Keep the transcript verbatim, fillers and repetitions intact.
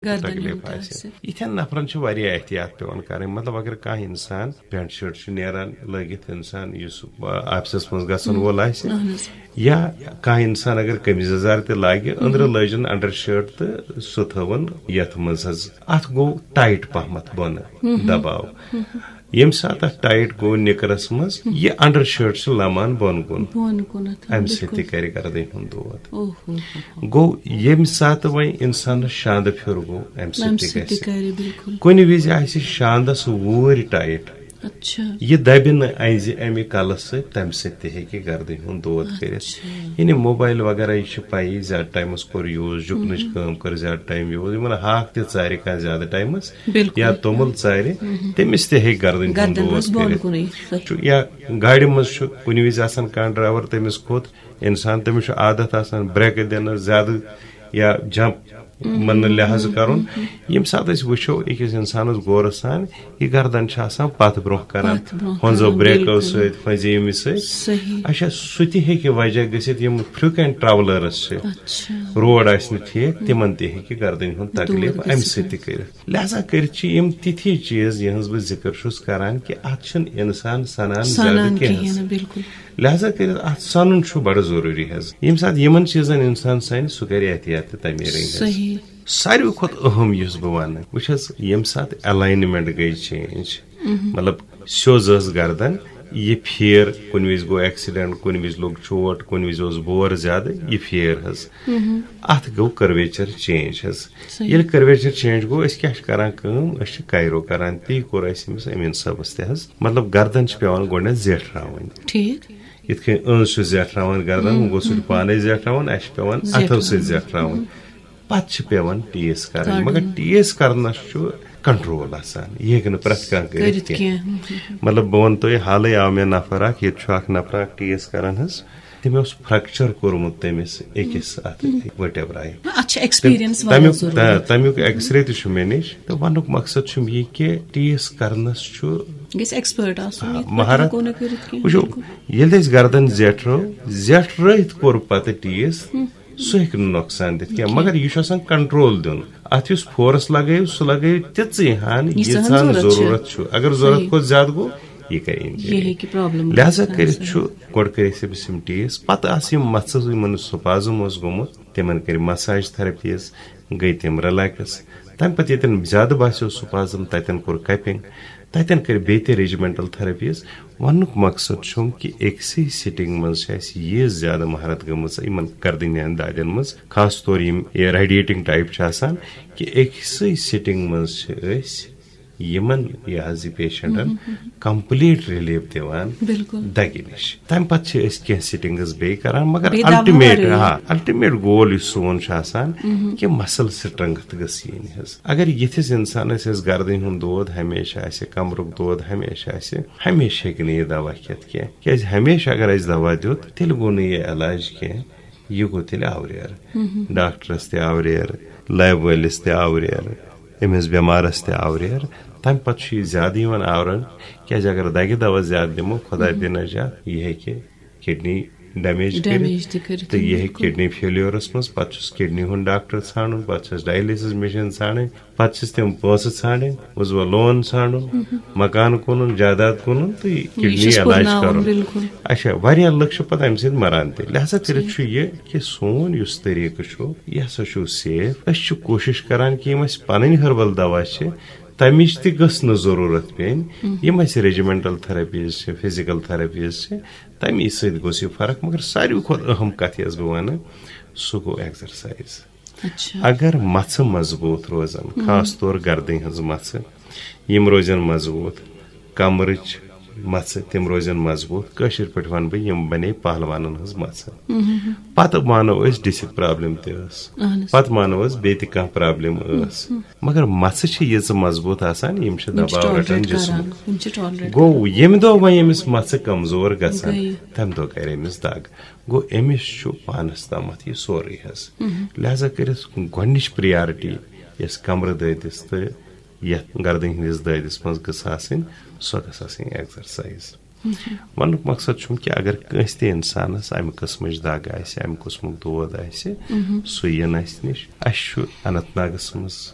گردن تکلیف ہُنٛد آسہِ۔ آسہِ۔ یِتھٮ۪ن نفرن چھِ واریاہ احتیاط پٮ۪وان کرٕنۍ۔ مطلب، اگر کانٛہہ انسان پینٹ شٲٹ چھُ نیران لٲگِتھ، انسان یُس، آ، آفسس منٛز گژھن وول آسہِ، اہن حظ۔ یا کانٛہہ انسان اگر قمیٖض یزار تہِ لاگہِ، أنٛدرٕ لٲجِن انڈر شٲٹ تہٕ سُہ تھٲوٕن یتھ منٛز حظ۔ اتھ گوٚو ٹایٹ پہمتھ بۄنہٕ دباو۔ ییٚمہِ ساتہٕ اتھ ٹایٹ گوٚو نِکرس منٛز، یہِ انڈر شٲٹ چھِ لمان بۄن کُن۔ بۄن کُنتھ، امہِ سۭتۍ بِلکُل۔ تہِ کرِ گردنہِ ہُنٛد دود۔ اوہ، اوہ، اوہ، اوہ۔ گوٚو ییٚمہِ ساتہٕ وۄنۍ انسانس شاندٕ پھیُر گوٚو، امہِ سۭتۍ امہِ تہِ سۭتۍ تہِ گژھِ۔ کرِ، بِلکُل۔ کُنہِ وِزِ آسہِ شاندس ووٗرۍ ٹایٹ، اچھا۔ یہِ دبہِ نہٕ انزِ امہِ کلہٕ سۭتۍ، تمہِ سۭتۍ تہِ ہیٚکہِ گردنہِ ہُنٛد دود کٔرِتھ۔ اچھا۔ یعنی موبایل وغیرہ، یہِ چھِ پَیی، زیادٕ ٹایمَس کوٚر یوٗز، جُکنٕچ کٲم کٔر زیادٕ ٹایم یوٗز، یِمن ہاکھ تہِ ژارِ کانٛہہ زیادٕ ٹایمَس، بِلکُل۔ یا توٚمُل ژارِ، تٔمِس تہِ ہیٚکہِ گردنہِ ہُنٛد گردن دود روزِ بۄن کٔرِتھ۔ کُنُے۔ صحیح۔ چھُ یا گاڑِ منٛز چھُ کُنہِ وِزِ آسان کانٛہہ ڈرایور، تٔمِس کھوٚت انسان، تٔمِس چھُ عادت آسان بریکہٕ دِنَس زیادٕ یا جمپ منٛز لحاظ کرُن۔ ییٚمہِ ساتہٕ أسۍ وٕچھو أکِس انسانس غورٕ سان، یہِ گردن چھِ آسان پتھ برونٛہہ کران، پتھ برونٛہہ ہۄنٛزو کران، بریکو بِلکُل۔ سۭتۍ، ہۄنٛزِ ییٚمہِ سۭتۍ۔ صحیح۔ اچھا، سُہ تہِ ہیٚکہِ وجہ گٔژھِتھ، یِم فریکوینٹ ٹریولرس چھِ، اچھا۔ روڈ آسہِ نہٕ ٹھیٖک، تِمن تہِ ہیٚکہِ گردنہِ ہُنٛد دود تکلیف امہِ گٔژھِتھ۔ سۭتۍ تہِ کٔرِتھ۔ لہذا کٔرِتھ چھِ یِم تِتھی چیٖز، یِہٕنٛز بہٕ ذِکر چھُس کران، کہِ اتھ چھُنہٕ انسان سنان سنان زیادٕ کینٛہہ۔ کِہیٖنۍ نہٕ، بِلکُل۔ لہذا کٔرِتھ اتھ سنُن چھُ بڑٕ ضروٗری حظ۔ ییٚمہِ ساتہٕ یِمن چیٖزن انسان سنہِ، سُہ کرِ احتیاط تہِ تمے رٔنگۍ حظ۔ صحیح۔ ساروی کھۄتہٕ اہم یُس بہٕ ونہٕ، وٕچھ حظ، ییٚمہِ ساتہٕ الاینمنٹ گٔے چینج، مطلب سیوٚز ٲس گردن، یہِ پھیر، کُنہِ وِزِ گوٚو ایکسیڈنٹ، کُنہِ وِزِ لوٚگ چوٹ، کُنہِ وِزِ اوس بور زیادٕ، یہِ پھیر حظ۔ اتھ گوٚو کرویچر چینج حظ۔ صحیح۔ ییٚلہِ کرویچر چینج گوٚو، أسۍ کیٛاہ چھِ کران کٲم؟ أسۍ چھِ کایرو کران۔ تی کوٚر اَسہِ أمِس امیٖن صٲبس تہِ حظ۔ مطلب، گردن چھِ پٮ۪وان گۄڈٕنٮ۪تھ زیٹھراوٕنۍ۔ ٹھیٖک۔ یِتھ کٔنۍ أنٛز چھُ زیٹھراوان گردن، وۄنۍ گوٚو سُہ چھُ پانے زیٹھراوان، اَسہِ چھِ پٮ۪وان اَتھو سۭتۍ زیٹھراوان۔ پتہٕ چھِ پٮ۪وان ٹیس کرٕنۍ۔ کڑُن۔ مگر ٹیس کرنس چھُ کنٹرول آسان، یہِ ہیٚکہِ نہٕ پرٛٮ۪تھ کانٛہہ کٔرِتھ کٔرِتھ کینٛہہ۔ کینٛہہ۔ مطلب، بہٕ وَنہٕ تۄہہِ، حالٕے آو مےٚ نفر اکھ، ییٚتہِ چھُ اکھ نفر اکھ ٹیس کران حظ، تٔمۍ اوس فریکچر کوٚرمُت تٔمِس أکِس اتھ ؤٹیبرایہِ۔ اتھ چھِ ایکسپیرینس واریاہ تمیُک، ضروٗری۔ آ، تمیُک ایکس رے تہِ چھُ مےٚ نِش۔ تہٕ ونُک مقصد چھُم یہِ کہِ ٹیس کرنس چھُ، گژھِ ایکسپٲرٹ آسُن، آ، یِتھ پٲٹھۍ مہارت۔ ہٮ۪کو نہٕ کٔرِتھ کینٛہہ۔ وٕچھِو، بِلکُل۔ ییٚلہِ أسۍ گردن زیٹھرو، زیٹھرٲوِتھ کوٚر پتہٕ ٹیس، سُہ ہیٚکہِ نہٕ نۄقصان دِتھ کینٛہہ، مگر یہِ چھُ آسان کنٹرول دیُن۔ اتھ یُس فورس لگٲیِو، سُہ لگٲیِو تِژٕے ہن، ییٖژہن ییٖژہن ضروٗرت چھُ۔ ضروٗرت چھُ۔ اگر ضروٗرت صحیح۔ کھۄتہٕ زیادٕ گوٚو، یہِ کرِ انجری۔ یہِ ہیٚکہِ پرابلم لہذا گٔژھِتھ۔ کٔرِتھ چھُ گۄڈٕ کٔرۍ أسۍ أمِس یِم ٹیس، پتہٕ آسہٕ یِم مژھٕ، یِمن سپازم اوس گوٚمُت، تِمن کٔرۍ مساج تھراپیز، گٔے تِم رِلیکس۔ تمہِ پتہٕ ییٚتٮ۪ن زیادٕ باسیو سپازم، تتٮ۪ن کوٚر کپنگ، تتٮ۪ن کٔرۍ بیٚیہِ تہِ ریجیمنٹل تھراپیز۔ وننُک مقصد چھُم کہِ أکسٕے سٹنگ منٛز چھِ اسہِ یہِ زیادٕ مہارت گٔمٕژ یِمن گردنہِ ہٕنٛدۍ دادٮ۪ن منٛز، خاص طور یِم ریڈیٹنگ ٹائپ چھِ آسان، کہِ أکسٕے سٹنگ منٛز چھِ أسۍ یِمن، یہِ حظ یہِ پیشنٹن کمپلیٹ ریلیف دِوان بِلکُل۔ دگہِ نِش۔ تمہِ پتہٕ چھِ أسۍ کینٛہہ سٹنگز بیٚیہِ کران، مگر بیٚیہِ دوا الٹیمیٹ، ورٲیی۔ ہاں، الٹیمیٹ گول یُس سون چھُ آسان، کہِ مسل سٹرنگتھ گٔژھ یِنۍ حظ۔ اگر یِتھِس انسانس یۄس گردنہِ ہُنٛد دود ہمیشہِ آسہِ، کمرُک دود ہمیشہِ آسہِ، ہمیشہِ ہیٚکہِ نہٕ یہِ دوا کھٮ۪تھ کینٛہہ۔ کیازِ ہمیشہِ اگر اسہِ دوا دیُت، تیٚلہِ گوٚو نہٕ یہِ علاج کینٛہہ، یہِ گوٚو تیٚلہِ آوریر۔ ڈاکٹرس تہِ آوریر، لیب وٲلِس تہِ آوریر، أمِس بٮ۪مارس تہِ آوریر۔ تمہِ پتہٕ چھُ یہِ زیادٕ یِوان آورن، کیازِ اگر دگہِ دوا زیادٕ دِمو، خۄدا تہِ نجات، یہِ ہیٚکہِ کڈنی ڈیمیج کٔرِتھ۔ ڈیمیج تہِ کٔرِتھ، تہٕ یہِ ہیٚکہِ بِلکُل۔ کڈنی فیلیورس منٛز، پتہٕ چھُس کڈنی ہُنٛد ڈاکٹر ژھانڈُن، پتہٕ چھُس ڈایلسس مشین ژھانڈٕنۍ، پتہٕ چھِس تِم پونٛسہٕ ژھانڈٕنۍ، وٕچھ وۄنۍ لون ژھانڈُن، مکان کٕنُن، جائیداد کٕنُن تہٕ یہِ یہِ کڈنی چھُس علاج پُرناوُن، کرُن۔ بِلکُل۔ اچھا، واریاہ لُکھ چھِ پتہٕ امہِ سۭتۍ مران تہِ۔ لہذا کٔرِتھ چھُ یہِ کہِ سون یُس طریٖقہٕ چھُ، یہِ ہسا چھُ سیف۔ أسۍ چھِ کوٗشش کران کہِ یِم اسہِ پنٕنۍ ہربل دوا چھِ، تمِچ تہِ گٔژھ نہٕ ضروٗرت پیٚنۍ۔ یِم اسہِ ریجیمنٹل تھراپیز چھِ، فزیکل تھراپیز چھِ، تمی سۭتۍ گوٚژھ یہِ فرق۔ مگر ساروی کھۄتہٕ اہم کتھ یۄس بہٕ ونہٕ، سُہ گوٚو ایکزرسایز۔ اچھا۔ اگر مژھٕ مضبوٗط روزن، خاص طور گردنہِ ہٕنٛز مژھٕ، یِم روزن مضبوٗط، کمرٕچ مژھٕ، تِم روزن مضبوٗط۔ کٲشِر پٲٹھۍ ونہٕ بہٕ، یِم بنے پہلوانن ہٕنٛز مژھٕ۔ پتہٕ مانو أسۍ ڈسک پرابلم تہِ ٲس، اہن حظ۔ پتہٕ مانو أسۍ بیٚیہِ تہِ کانٛہہ پرابلم ٲس، مگر مژھٕ چھِ ییٖژٕ مضبوٗط آسان، یِم چھِ یِم چھِ دباو رٹان tolerate جسمُک۔ کران، یِم چھِ tolerate گوٚو، کران۔ ییٚمہِ دۄہ وۄنۍ أمِس مژھٕ کمزور گژھن، گٔیہِ۔ تمہِ دۄہ کرِ أمِس دگ۔ گوٚو، أمِس چھُ پانس تامتھ یہِ سورُے حظ۔ لہذا کٔرِتھ گۄڈنِچ پریارٹی یۄس کمرٕ دٲدِس تہٕ یتھ گردنہِ ہٕنٛدِس دٲدِس منٛز گٔژھ آسٕنۍ، سۄ گٔژھ آسٕنۍ ایکزرسایز۔ ونُک مقصد چھُم کہِ اگر کٲنٛسہِ تہِ انسانس امہِ قٕسمٕچ دگ آسہِ، امہِ قٕسمُک دود آسہِ، سُہ یِن اسہِ نِش۔ اسہِ چھُ اننت ناگس منٛز